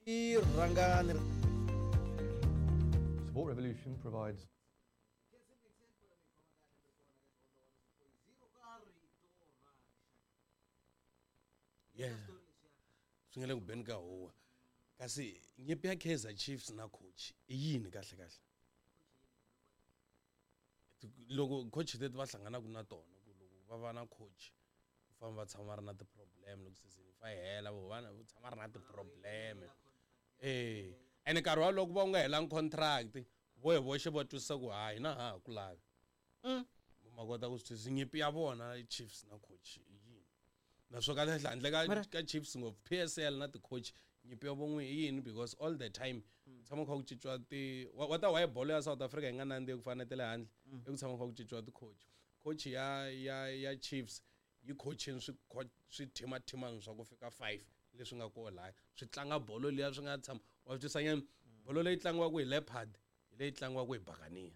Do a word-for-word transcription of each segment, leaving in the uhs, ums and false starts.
Rhangani. Sport Revolution provides Yeah. Swi nga le ku beni ka huwa. Kasi nyimpi ya Kaizer Chiefs na coach i yini kahle kahle? Loko coach leti va hlanganaka na tona ku loko va va na coach ku famba va tshama va ri na ti-problem loko season yi fa yi hela vo va va tshama va ri na ti-problem. Eh, ene nkarhi wolowo ku va u nga helangi contract vo hi voxe va twisisa ku ha hina ha ha ku lavi. Ma kota ku swi twisisa nyimpi ya vona Chiefs na coach i yini? Naswo kahle kahle handle ka ka Chiefs ngopfu P S L na ti-coach nyimpi ya von'we i yini because all the time tshama kha ku cinciwa ti wa ta why bolo ya South Africa yi nga nandziki ku fana na ta le handle i ku tshama kha ku cinciwa ti-coach. Coach ya ya ya Chiefs yi coaching swi swithimathimani swa ku fika five leswi nga koho laya swi tlanga bolo liya swi nga tshama wa twisisa nyana bolo leyi tlangiwaka hi Leopard hi leyi tlangiwaka hi Buccaneer.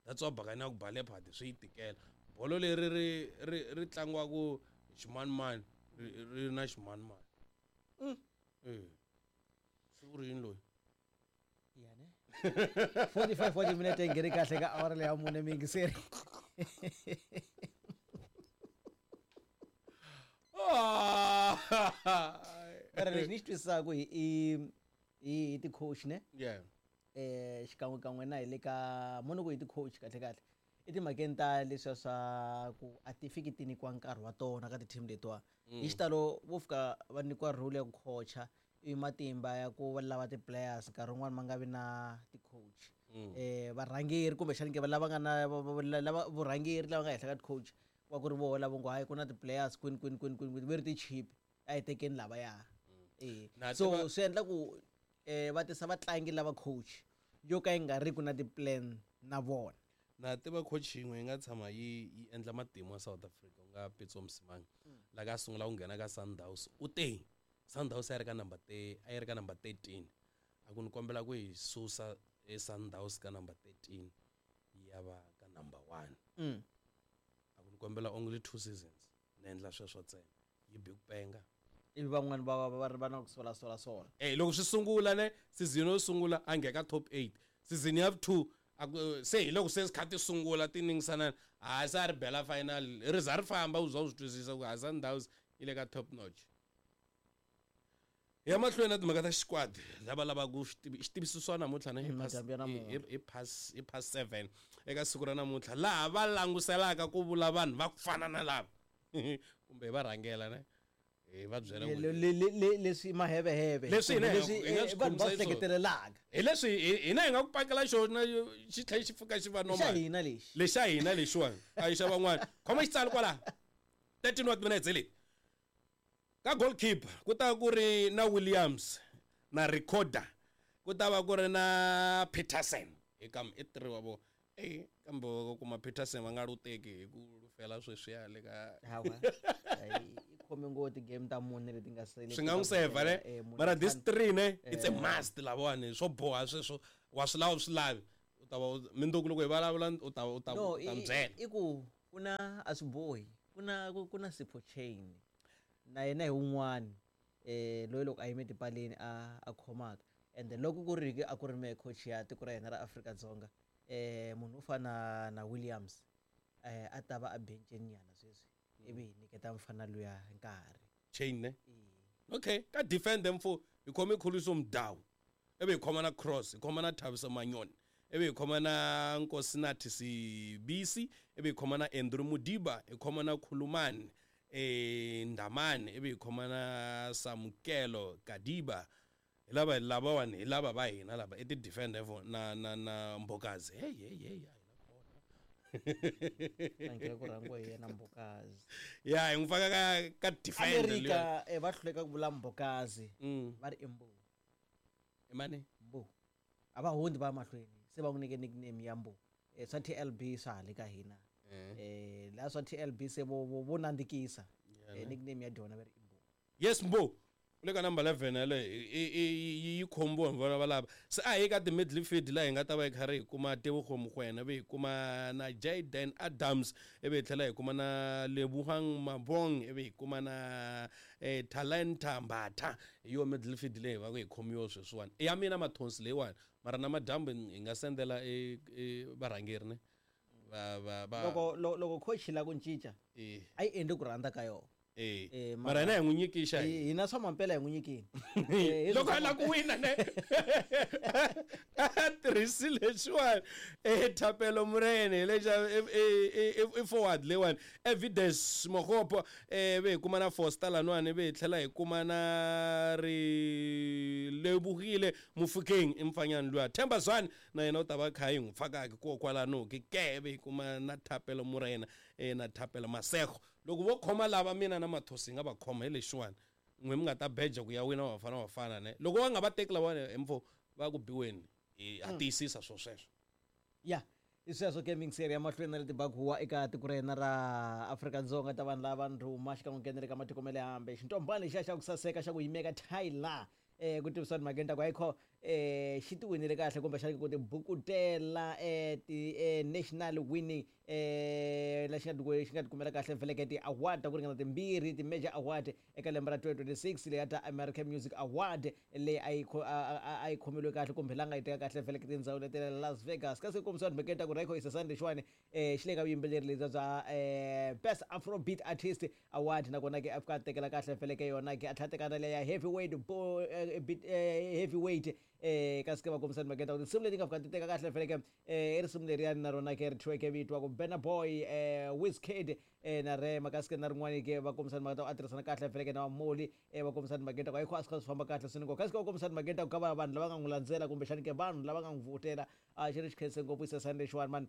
That's why Buccaneer ku ba Leopard swi yi tikela. Bolo leri ri ri ri tlangiwaka hi ximanimani ri ri na ximanimani. Eh. Se u ri yini loyi? Ya ne. forty-five forty minutes yi nghene kahle ka awara leyi ya mune miyingiseri. Mara lexi ni xi twisisaka hi i hi ti-coach ne? Yeah. Eh xikan'we kan'we na hi le ka mona ku hi ti-coach kahle kahle. I timhakeni ta leswiya swa ku a ti fiki ti nyikiwa nkarhi wa tona ka ti-team letiwa. Hi xitalo vo fika va nyikiwa role ya ku coacha i matimba ya ku va lava ti-players nkarhi wun'wani ma nga vi na ti-coach. Eh varhangeri kumbexani ke lava nga na lava vurhangeri lava nga henhla ka ti-coach wa ku ri voho lava ngo hayi ku na ti-players kwini kwini kwini kwini ve ri ti-cheap a hi tekeni lavaya. Eh so swi endla ku eh va tisa vatlangi lava coach yo ka yi nga ri ku na ti-plan na vona. Na tiva coach yin'we yi nga tshama yi yi endla matimu ya South Africa ku nga Pitso Mosimane. La ka sungula ku nghena ka Sundowns u te Sundowns a yi ri ka number a yi ri ka number thirteen. A ku ni kombela ku hi susa e Sundowns ka number thirteen yi ya va ka number one. A ku ni kombela only two seasons ni endla sweswo ntsena yi bi ku penga. Ivi van'wani va va va ri va na ku sola sola sola. Eh loko swi sungula ne season yo sungula a nghena ka top eight. Season ya two se hi loko se kha ti sungula ti ningisana ha se a ri bela final ri za ri famba u za u swi twisisa ku ha Sundowns yi le ka top notch. Ya mahlweni na timhaka ta xikwadi lava lavaka ku xi swa namuntlha ne hi pass hi pass seven eka siku ra namuntlha laha va languselaka ku vula vanhu va ku fana na lava kumbe va rhangela ne hi va byela ku leswi maheveheve leswi hina hi nga swi vanhu va hleketelelaka hi leswi hina hi nga ku pakela xona xi tlhela xi pfuka xi va normal xa hina lexi lexa hina lexiwani a yi xa van'wana khoma xitsalo kwala thirteen what minutes le ka goalkeeper ku ta ku ri na Williams na Recorder ku ta va ku ri na Peterson hi kam i three wa vo eh kambe ku kuma Peterson va nga lu teki hi ku lufela sweswiya le ka hawa khome ngo ti-game ta mune leti nga sele swi nga n'wi seva ne mara this three ne it's a must lavawani swo boha sweswo wa swi lava swi lavi u ta va mindzuku loko hi vulavula u ta u ta no u ta byela i ku ku na a swi bohi ku na ku na Sipho Chain na yena hi wun'wani eh loyi loko a yime tipaleni a a khomaka and loko ku ri a ku ri me coach ya tiko ra hina ra Afrika-Dzonga eh munhu u fana na Williams eh a ta va a bencheni nyana sweswi ivi hi nyiketa mfana luya nkarhi Chain ne okay ka defend them for hi khome Khuliso Mudau ivi hi khoma na Cross hi khoma na Thabiso Manyoni ivi hi khoma na Nkosinathi Sibisi ivi hi khoma na Andrew Modiba hi khoma na Khulumani eh Ndamane ivi hi khoma na Samukelo Kadiba hi lava lavawani hi lava va hina lava i ti-defender na na na Mbokazi hey hey hey Thank ku rhangiwa hi yena Mbokazi. Ya hi n'wi faka ka ka defender America eh va hluleka ku vula Mbokazi va ri i Mbo. I mani? Mbo. A va hundzi va mahlweni se va n'wi nyike nickname ya Mbo. Eh swa T L B swa hale ka hina. Eh la swa T L B se vo vo nandzikisa. Eh nickname ya dyona va ri i Mbo. Yes Mbo. U le ka number eleven yaleyo yi khombiwa hi vona valava. Se a hi ka ti-midfield laha hi nga ta va hi karhi hi kuma Tebogo Mokoena, ivi hi kuma na Jayden Adams, ivi hi tlhela hi kuma na Lebohang Mabong, ivi hi kuma na eh, Talenta Mbatha. Hi yo midfield leyi va ku hi khomiwa sweswiwani. I ya mina mathonsi leyiwani, mara na madyambu hi nga sendela e, e varhangeri ne va va va loko loko coach la ku cinca eh a yi endli ku rhandza ka yona. Eh, eh mara hina hi n'wi nyikisa hina swa mampela hi n'wi nyikini. Loko a lava ku wina ne a tirhisile lexiwani eh Thapelo Morena lexa i forward leyiwani Evidence Mogopo eh ve hi kuma na Foster lanwani ve hi tlhela hi kuma na ri Lebugile Mofokeng i mfanyana luya Themba Zwane na yena u ta va kha yi n'wi fakaka ko kwalano ke ke ve hi kuma na Thapelo Morena eh na Thapelo Masego. Loko vo khoma lava mina na mathosi nga va khoma hi lexiwani n'we mi nga ta beja ku ya wina vafana vafana ne loko va nga va teki lavawani hi mfo va ku biweni hi ha tiyisisa swo sweswo. Ya hi sweswo gaming series ya mahlweni na leti bakuwa eka tiko ra hina ra Afrika-Dzonga ta vanhu lava ndhuma xikan'we ku nghenele ka matiko ma le hambe. Xintombani lexiya xa ku saseka xa ku yimeka Tyler eh ku tivisa timhakeni ta ku ayikho eh xi ti winile kahle kumbexana ku tibukutela eh ti eh, national winning eh la xi nga xi nga tikumela kahle vheleke ti-award ta ku ringana timbirhi ti-major award eka lembe ra twenty twenty-six leyi ya ta American Music Award leyi a yi a yi khomeliwe kahle kumbe la nga yi teka kahle vheleke tindhawu leti la Las Vegas. Kasi ku kombisiwa timhakeni ta ku Rayco Isasani lexiwani eh xi le ka vuyimbeleri lebyi bya eh Best Afrobeat Artist Award nakona ke a fika a tekela kahle vheleke yona ke a tlhela teka na leya heavyweight bo eh, heavyweight eh kasi ke va kombisa timhakeni ta ku tinsimu leti nga fika ti teka kahle vheleke eh i risimu leriyani na rona ke ri thyiweke vito wa ku Burna Boy eh Wizkid eh na Rema. Kasi ke na rin'wani ke va kombisa timhaka ta ku a tirhisana kahle vheleke na Moli eh va kombisa timhakeni ta ku ayikho a swi kha swi famba kahle swinene ngopfu. Kasi ke va kombisa timhakeni ta ku ka va vanhu lava nga n'wi landzela kumbexani ke vanhu lava nga n'wi vhotela a xi ri xi khense ngopfu Isasani lexiwani mani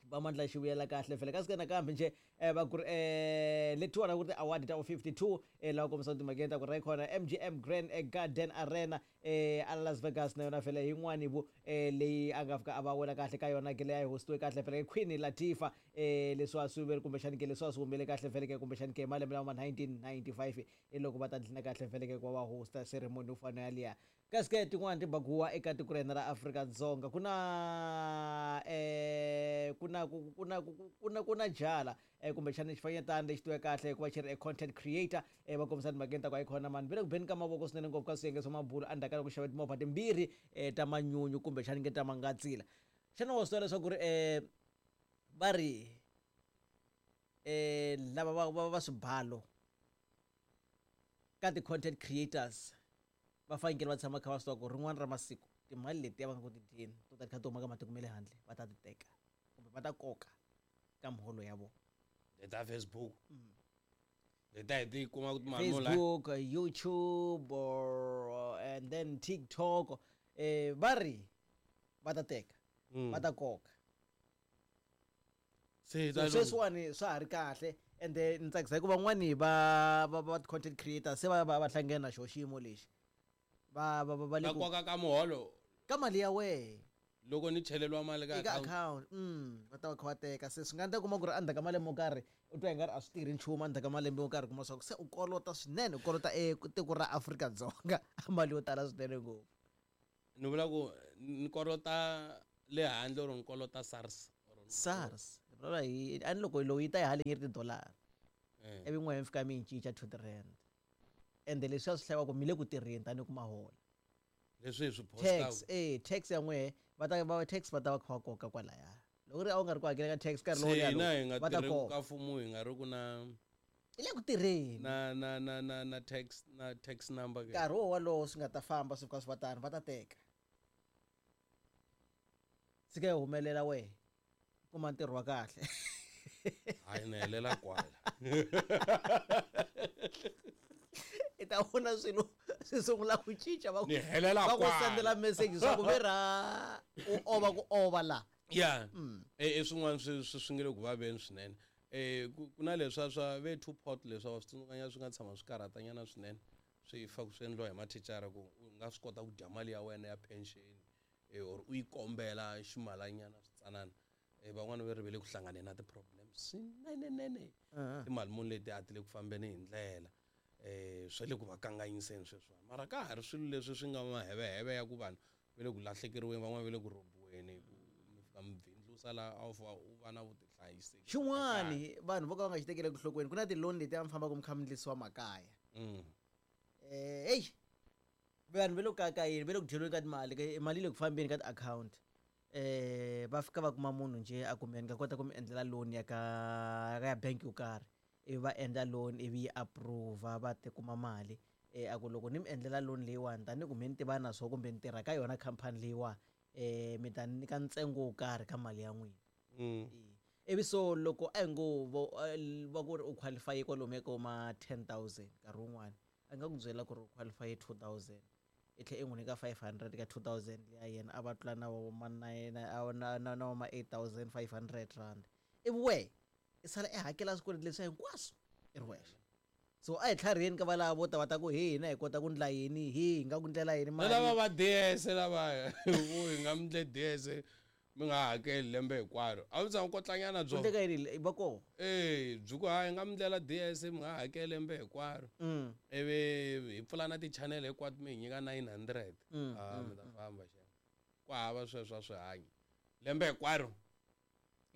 va mandla xi vuyela kahle vhele. Kasi ke nakambe nje eh va ku ri eh letiwani ku ri ti-award ta fifty-two eh lava kombisa timhakeni ta ku Raycon M G M Grand Garden Arena eh a Las Vegas na yona vhele yin'wani vu eh leyi a nga fika a va wela kahle ka yona ke leyi a yi hostiwe kahle vhele Queen Latifah eh leswi a swi vele kumbexani ke leswi a swi humelele kahle vhele ke kumbexani ke malembe lama nineteen ninety-five i loko va ta dlina kahle vhele ke ku va va hosta ceremony yo fana yaliya. Kasi ke tin'wani tibaguwa eka tiko ra hina ra Afrika-Dzonga ku na eh ku na ku na ku na ku na jala eh kumbexana xifanyetana lexi tiwe kahle hikuva xi ri content creator eh va kombisa timhakeni ta ku ayikhona mani ve le ku beni ka mavoko swinene ngopfu ka swiyenge swa mabulo endzhaku ka loko xave timovha timbirhi eh ta manyunyu kumbexana nge ta mangatsila. Xana wa swi tiva leswaku ri eh va ri eh lava va va va swibalo ka ti-content creators va fanekele va tshama kha va swi tiva ku rin'wana ra masiku timali letiya va nga ku ti dyeni to ta ti kha ti huma ka matiko ma le handle va ta ti teka kumbe va ta koka ka muholo ya vona. Leta Facebook leta hi ti kuma ku timali Facebook, YouTube or and then TikTok eh va ri va ta teka va ta koka. Se sweswiwani swa ha ri kahle ende ni tsakisa hikuva van'wani va va va content creators se va va va hlangene na xo xiyimo lexi va va va le ku koka ka muholo ka mali ya wehe loko ni cheleriwa mali ka eka account mm va ta va kha va teka. Se swi nga endleka kuma ku ri endzhaku ka malembe mo karhi u twa i nga ri a swi tirhi nchumu endzhaku ka malembe mo karhi kuma swa ku se u kolota swinene u kolota e tiko ra Afrika-Dzonga mali yo tala swinene ngopfu. Ni vula ku ni kolota le handle or ni kolota SARS SARS vulavula hi a ni loko lowu yi ta yi haleni yi ri tidolara ivi n'we mi fika mi yi cinca two tirand ende leswi a swi hlayiwa ku mi le ku tirheni tanihi ku mahola leswi hi swi tax eh tax ya n'we va ta va tax va ta va kha va koka kwalaya loko ri a wu nga ri ku hakela ka tax nkarhi lowu hina hi nga va ta tirhi koka ka mfumo hi nga ri ku na i le ku tirheni na na na na na tax na tax number ke nkarhi wo wolowo swi nga ta famba swi fika swi va tano va ta teka tshika yi humelela wehe kuma ntirho wa kahle. Hayi ni helela kwala i ta vona swilo swi sungula ku cinca va ni helela va ku kwala sendela message swa ku vera u ova ku ova la ya e swin'wana swi swi swi nge le ku vaveni swinene eh ku na leswa swa ve two pot leswa wa swi tsundzukanyana swi nga tshama swi karhatanyana swinene swi fa ku swi endliwa hi mathicara ku u nga swi kota ku dya mali ya wena ya pension eh or u yi kombela ximalanyana switsanana eh van'wana va ri ve le ku hlanganeni na ti-problems swinenenene timali muni leti a ti le ku fambeni hi ndlela. Eh swa le ku va kanganyiseni sweswiwani mara ka ha ri swilo leswi swi nga maheveheve ya ku vanhu va le ku lahlekeriweni van'wana va le ku rhobiweni ku mi fika mi bindzusa laha a wu fa u va na vutihlayiseki Xin'wani vanhu vo ka va nga xi tekeli enhlokweni, ku na ti-loan leti a mi fambaka mi kha mi ndlisiwa makaya. Mm. Eh hey, vanhu va le ku kayakayeni, va le ku dyeriweni ka timali, ka- mali yi le ku fambeni ka ti-akhawunti. Eh va fika va kuma munhu njhe a ku me ni nga kota ku mi endlela loan ya ka ya bank yo karhi, ivi va endla loan ivi yi approve va ti kuma mali. Eh a ku loko ni mi endlela loan leyiwani tanihi ku me ni tiva na swo kumbe ni tirha ka yona khampani leyiwani, eh mi ta ni nyika ntsengo wo karhi ka mali ya n'wina. Mm. Ivi so loko a hi ngo vo va ku ri u qualify kwalomuya ka ma ten thousand nkarhi wun'wani a nga ku byela ku ri u qualify two thousand, i tlhela i n'wi nyika five hundred ka two thousand liya yena a va tlula na wo ma nine na na na na ma eight thousand five hundred rand, ivi wehe i sala i hakela swikweleti leswiya hinkwaswo i ri wexe. So a hi tlhariheni ka valava vo ta va ta ku he hina hi kota ku ndla yini, he hi nga ku ndlela yini Na lava mali. va D S lava vo hi nga mi ndle D S mi nga hakeli lembe hinkwaro, a wu tshama kotlanyana byo Ku ndleka yini va koho? Eh byi ku hayi nga mi ndlela D S mi nga hakeli lembe hinkwaro, Mm. ivi hi pfula na ti-channel hinkwato mi hi nyika nine hundred. Mm, Ah, mm, mi ta famba xa ku hava sweswo a swi hanyi lembe hinkwaro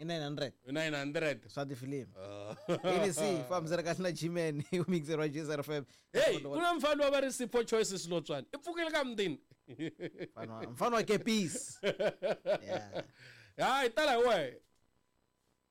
I nine hundred. I nine hundred. Swa tifilimi. Ah. A B C fambisana kahle na G-Man u mixer wa G S R F M. Hey, ku na mfana wa va ri Sipho Choices Lotswana. I pfukile ka mutini. Mfana wa, mfana wa Kepisi. Yeah. Hayi tala hi wehe.